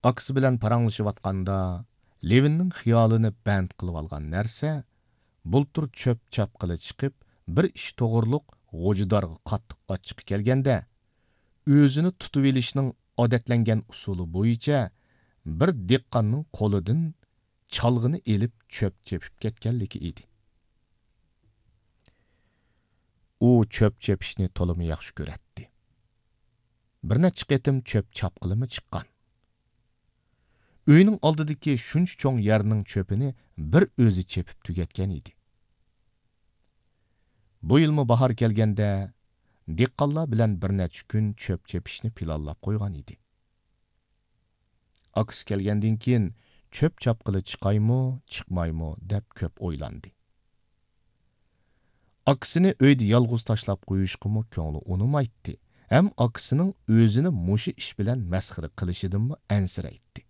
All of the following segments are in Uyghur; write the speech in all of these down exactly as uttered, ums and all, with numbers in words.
ئاكىسى بىلەن پاراڭلىشىۋاتقاندا، لېۋىننىڭ خىيالىنى بەند قىلىۋالغان نەرسە، بۇلتۇر چۆپ چاپقىلى چىقىپ، بىر ئىش توغرۇلۇق غوجىدارغا قاتتىق ئاچچىقى كەلگەندە، ئۆزىنى تۇتۇۋېلىشنىڭ ئادەتلەنگەن ئۇسۇلى بويىچە بىر دېھقاننىڭ قولىدىن چالغىنى ئېلىپ چۆپ چېپىپ كەتكەنلىكى ئىدى. ئۇ چۆپ چېپىشنى تولىمۇ ياخشى كۆرەتتى. بىر نەچچە قېتىم چۆپ چاپقىلىمۇ چىققان. ئۆينىڭ ئالدىدىكى شۇنچە چوڭ يەرنىڭ چۆپىنى بىر ئۆزى چېپىپ تۈگەتكەن ئىدى. بۇ يىلمۇ باھار كەلگەندە، دېھقانلار بىلەن بىر نەچچە كۈن چۆپ چېپىشنى پىلانلاپ قويغان ئىدى. ئاكىسى كەلگەندىن كېيىن، چۆپ چاپقىلى چىقايمۇ، چىقمايمۇ دەپ كۆپ ئويلاندى. ئاكىسىنى ئۆيدە يالغۇز تاشلاپ قويۇشقىمۇ كۆڭلى ئۇنىمايتتى، ھەم ئاكىسىنىڭ ئۆزىنى مۇشۇ ئىش بىلەن مەسخىرە قىلىشىدىنمۇ ئەنسىرەيتتى.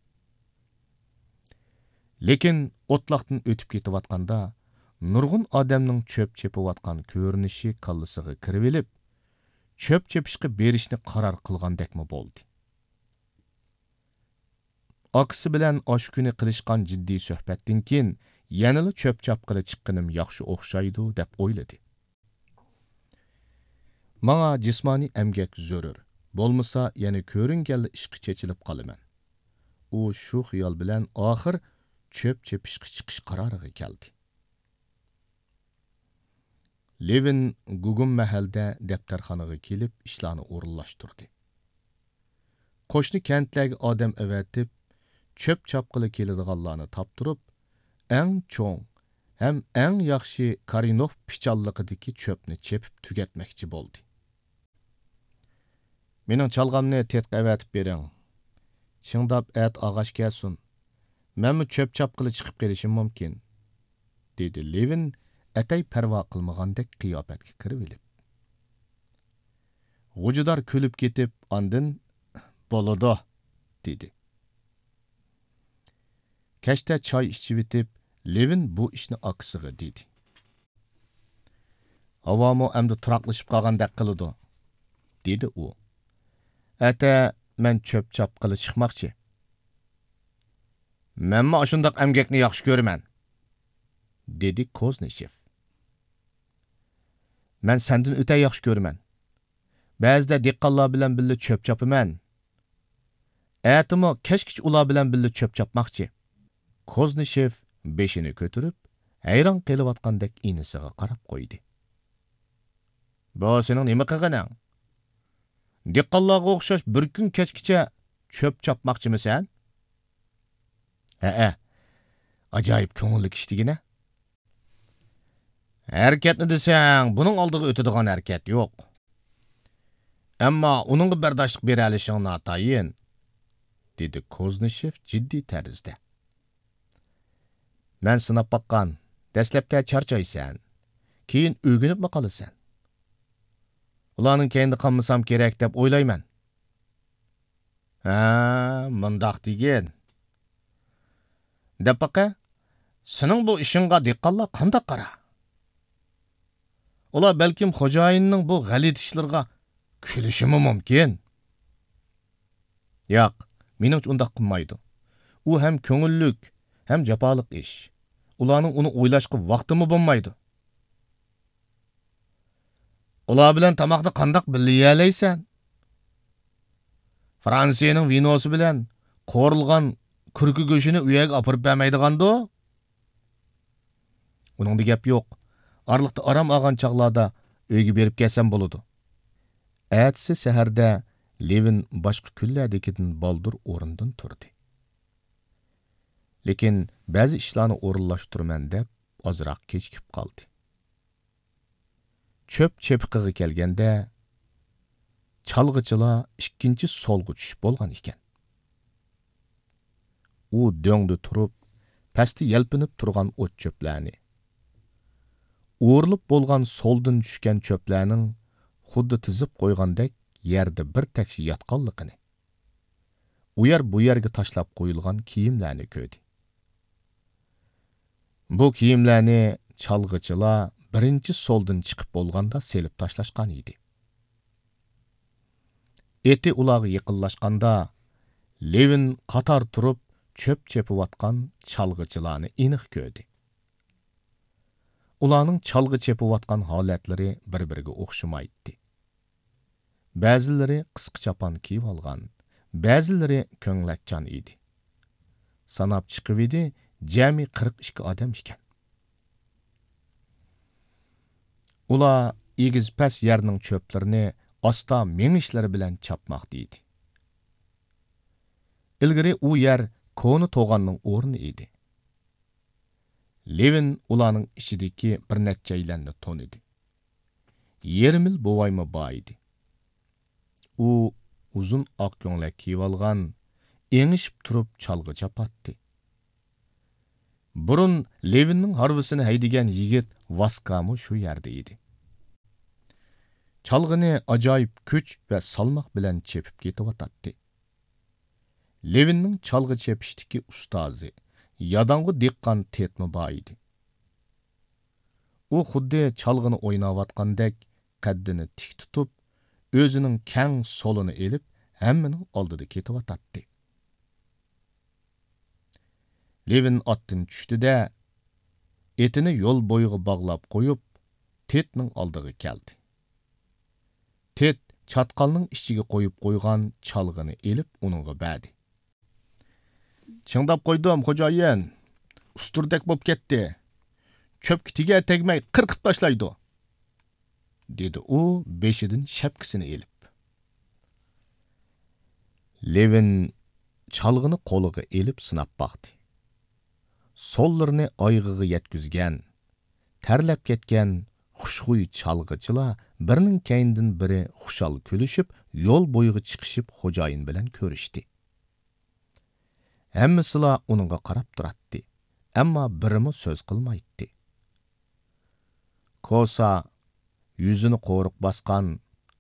لېكىن ئوتلاقتىن ئۆتۈپ كېتىۋاتقاندا، نۇرغۇن ئادەمنىڭ چۆپ چېپىۋاتقان كۆرۈنۈشى كاللىسىغا كىرىۋېلىپ، چۆپ چېپىشقا بېرىشنى قارار قىلغاندەكمۇ بولدى. ئاكىسى بىلەن ئاشۇ كۈنى قىلىشقان جىددىي سۆھبەتتىن كېيىن، يەنىلا چۆپ چاپقىلى چىققىنىم ياخشى ئوخشايدۇ، دەپ ئويلىدى. ماڭا جىسمانىي ئەمگەك زۆرۈر، بولمىسا يەنە كۆرۈنگەنلا ئىشقا چېچىلىپ قالىمەن. ئۇ شۇ خىيال بىلەن ئاخىر چۆپ چېپىشقا چىقىش قارارىغا كەلدى. لېۋىن گۇگۇم مەھەلدە دەپتەرخانىغا كېلىپ ئىشلارنى ئورۇنلاشتۇردى. قوشنا كەنتلەرگە ئادەم ئەۋەتىپ، چۆپ چاپقىلى كېلىدىغانلارنى تاپتۇرۇپ، ئەڭ چوڭ ھەم ئەڭ ياخشى كارىنوف پىچانلىقىدىكى چۆپنى چېپىپ تۈگەتمەكچى بولدى. مېنىڭ چالغامنى تېتىققا ئەۋەتىپ بېرىڭ. شىڭداپ ئەتە ئاغاچ كەلسۇن. مەنمۇ چۆپ چاپقىلى چىقىپ قېلىشىم مۇمكىن، دېدى لېۋىن ئەتەي پەرۋا قىلمىغاندەك قىياپەتكە كىرىۋېلىپ. غوجىدار كۈلۈپ كېتىپ، ئاندىن، بولىدۇ، دېدى. كەچتە چاي ئىچىۋېتىپ، لېۋىن بۇ ئىشنى ئاكىسىغا دېدى. ھاۋامۇ ئەمدى تۇراقلىشىپ قالغاندەك قىلىدۇ، دېدى ئۇ. ئەتە مەن چۆپ چاپقىلى چىقماقچى. مەنمۇ ئاشۇنداق ئەمگەكنى ياخشى كۆرىمەن، دېدى كوزنىشېف. مەن سەندىن ئۆتە ياخشى كۆرىمەن. بەزىدە دېھقانلار بىلەن بىللە چۆپ چاپىمەن. ئەتىمۇ كەچكىچە ئۇلار بىلەن بىللە چۆپ چاپماقچى. كوزنىشېف بېشىنى كۆتۈرۈپ، ھەيران قېلىۋاتقاندەك ئىنىسىغا قاراپ قويدى. بۇ سېنىڭ نېمە قىلغىنىڭ؟ دېھقانلارغا ئوخشاش بىر كۈن كەچكىچە چۆپ چاپماقچىمىسەن؟ ھەئە، ئاجايىپ كۆڭۈللۈك ئىش دېگىنە. ھەرىكەتنى دېسەڭ، بۇنىڭ ئالدىغا ئۆتىدىغان ھەرىكەت يوق. ئەمما ئۇنىڭغا بەرداشلىق بېرەلىشىڭ ناتايىن، دېدى كوزنىشېف جىددىي تەرزدە. مەن سىناپ باققان، دەسلەپتە چارچايسەن، كېيىن ئۆگىنىپمۇ قالىسەن. ئۇلارنىڭ كەينىدە قالمىسام كېرەك دەپ ئويلايمەن. ھە، مۇنداق دېگىن. دەپ باقە، سېنىڭ بۇ ئىشىڭغا دېھقانلار قانداق قارا؟ ئۇلار بەلكىم خوجايىننىڭ بۇ غەلىتە ئىشلىرىغا كۈلۈشىمۇ مۇمكىن. ياق، مېنىڭچە ئۇنداق قىلمايدۇ. ئۇ ھەم كۆڭۈللۈك، ھەم جاپالىق ئىش. ئۇلارنىڭ ئۇنى ئويلاشقا ۋاقتىمۇ بولمايدۇ. ئۇلار بىلەن تاماقنى قانداق بىللە يېيەلەيسەن؟ فرانسىيەنىڭ ۋىنوسى بىلەن قورۇلغان كۈركە گۆشىنى ئۇ يەرگە ئاپىرىپ بەرمەيدىغاندۇ؟ ئۇنىڭدا گەپ يوق. ئارىلىقتا ئارام ئالغان چاغلاردا ئۆيگە بېرىپ كەلسەم بولىدۇ. ئەتىسى سەھەردە لېۋىن باشقا كۈنلەردىكىدىن بالدۇر ئورنىدىن تۇردى. لېكىن بەزى ئىشلارنى ئورۇنلاشتۇرىمەن دەپ ئازراق كېچىكىپ قالدى. چۆپ چېپىقىغا كەلگەندە، چالغىچىلار ئىككىنچى سولغا چۈشۈپ بولغان ئىكەن. ئۇ دۆڭدە تۇرۇپ، پەستە يەلپۈنۈپ تۇرغان ئوت-چۆپلەرنى، ئورۇلۇپ بولغان سولدىن چۈشكەن چۆپلەرنىڭ خۇددى تىزىپ قويغاندەك يەردە بىر تەكشى ياتقانلىقىنى، ئۇ يەر بۇ يەرگە تاشلاپ قويۇلغان كىيىملەرنى كۆردى. بۇ كىيىملەرنى چالغىچىلار بىرىنچى سولدىن چىقىپ بولغاندا سېلىپ تاشلاشقان ئىدى. ئېتى ئۇلارغا يېقىنلاشقاندا، لېۋىن قاتار تۇرۇپ چۆپ چېپىۋاتقان چالغىچىلارنى ئېنىق كۆردى. ئۇلارنىڭ چالغا چېپىۋاتقان ھالەتلىرى بىر-بىرىگە ئوخشىمايتتى. بەزىلىرى قىسقا چاپان كىيىۋالغان، بەزىلىرى كۆڭلەكچان ئىدى. ساناپ چىقىۋىدى، جەمئىي قىرىق ئىككى ئادەم ئىكەن. ئۇلار ئېگىز-پەس يەرنىڭ چۆپلىرىنى ئاستا مېڭىشلىرى بىلەن چاپماقتا ئىدى. ئىلگىرى ئۇ يەر كونا توغاننىڭ ئورنى ئىدى. لېۋىن ئۇلارنىڭ ئىچىدىكى بىر نەچچەيلەننى تونۇدى. يېرىم يىل بوۋايمۇ بار ئىدى. ئۇ ئۇزۇن ئاق كۆڭلەك كىيىۋالغان، ئېڭىشىپ تۇرۇپ چالغا چاپاتتى. بۇرۇن لېۋىننىڭ ھارۋىسىنى ھەيدىگەن يىگىت ۋاسكامۇ شۇ يەردە ئىدى. چالغىنى ئاجايىپ كۈچ ۋە سالماق بىلەن چېپىپ كېتىۋاتاتتى. لېۋىننىڭ چالغا چېپىشتىكى ئۇستازى، ياداڭغۇ دېھقان تېتمۇ بار ئىدى. ئۇ خۇددى چالغىنى ئويناۋاتقاندەك قەددىنى تىك تۇتۇپ، ئۆزىنىڭ كەڭ سولىنى ئېلىپ، ھەممىنىڭ ئالدىدا كېتىۋاتاتتى. لېۋىن ئاتتىن چۈشتى-دە، ئېتىنى يول بويىغا باغلاپ قويۇپ، تېتنىڭ ئالدىغا كەلدى. تېت چاتقالنىڭ ئىچىگە قويۇپ قويغان چالغىنى ئېلىپ ئۇنىڭغا بەردى. «چىڭداپ قويدۇم، خوجايىن. ئۇستۇردەك بوپ كەتتى. چۆپكە تېگەر تەگمەي قىرقىپ تاشلايدۇ.» دېدى ئۇ بېشىدىن شەپكىسىنى ئېلىپ. لېۋىن چالغىنى قولىغا ئېلىپ سىناپ باقتى. سوللىرىنى ئايىغىغا يەتكۈزگەن، تەرلەپ كەتكەن خۇشخۇي چالغىچىلار بىرىنىڭ كەينىدىن بىرى خۇشال كۈلۈشۈپ، يول بويىغا چىقىشىپ خوجايىن بىلەن كۆرۈشتى. ھەممىسىلا ئۇنىڭغا قاراپ تۇراتتى، ئەمما بىرىمۇ سۆز قىلمايتتى. كوسا يۈزىنى قورۇق باسقان